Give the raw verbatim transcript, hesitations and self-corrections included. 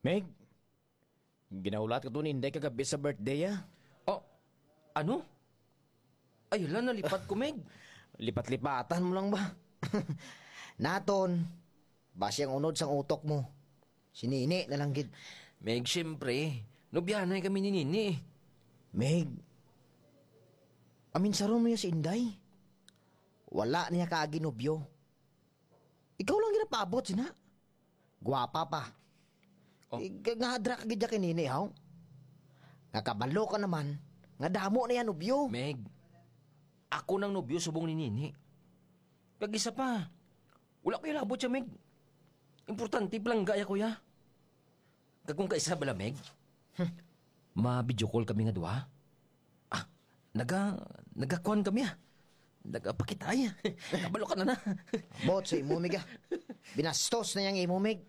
Meg, ginahulat ko to ni Inday kagabi sa birthday, ah. Oh, ano? Ay, hala, nalipat ko, Meg. Lipat-lipatan mo lang ba? Naton, basi ang unod sang utok mo. Si Nini na lang gid. Meg, siyempre, nobyahanay kami ni Nini. Meg, aminsaron mo ya si Inday. Wala niya kaagi nobyo. Ikaw lang ginapaabot sina. Gwapa pa. Oh. Eh, nga, nga hadra ka gid ya kay Nini, haw? Nga kabalo ka naman, nga damo na yan nobyo. Meg, ako nang nobyo subong ni Nini. Kag isa pa, wala ko ilabot siya, Meg. Importante, palangga ya ko ya. Kag kung kaisa bala, Meg, hmm, ma-video call kami nga duha. Ah, naga, nagakuan kami, ah. Nagapakitay. Kabalo ka na na. Bot sa imo, Meg, ah. Binastos na yang imo, Meg.